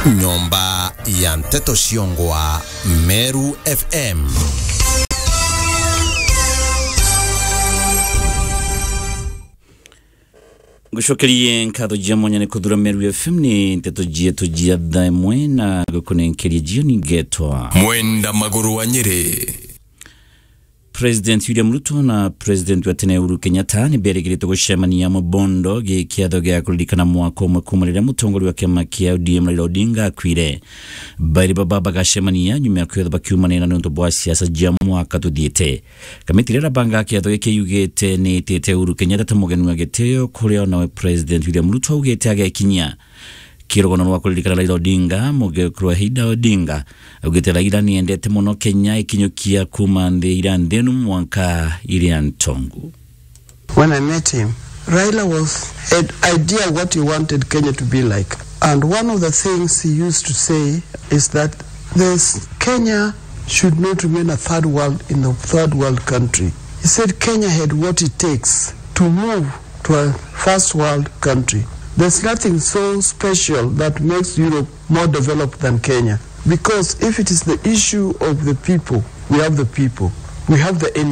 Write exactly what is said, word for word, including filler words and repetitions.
Nyomba ya nteto ciongwa Meru F M. Ngucokerie nkatho cia mwanya ni kuthura Meru F M. Ni nteto cietu cia thaa imwe na gukunenkeria jioni ngetwa Mwenda Maguru wa Nyeri. President William Ruto na President wa tene Uhuru Kenyatta ni berigirite gucemania Mubondo gi kiatho gia kuririkana mwaka umwe kuuma riria mutongoria wa kiama kia O D M Raila Odinga akuire. Bairi baba bagacemania nyuma ya kwithirwa bakiumanira niuntu bwa siasa cia mwaka tuthiite. Kamiti iria irabangaga kiatho giki yugite ni itite Uhuru Kenyatta ta mugeni wa gitio, kuria onawe President William Ruto augite agekinyia. Kirugano rwa kuririkana Raila Odinga, mugekuru wa Ida Odinga, augite Raila niendete mono Kenya ikinyukia kuuma nthi iria nthenu mwanka iria ntongu. When I met him, Raila was had idea what he wanted Kenya to be like. And one of the things he used to say is that this Kenya should not remain a third world in the third world country. He said Kenya had what it takes to move to a first world country. There's nothing so special that makes Europe more developed than Kenya. Because if it is the issue of the people, we have the people, we have the energy.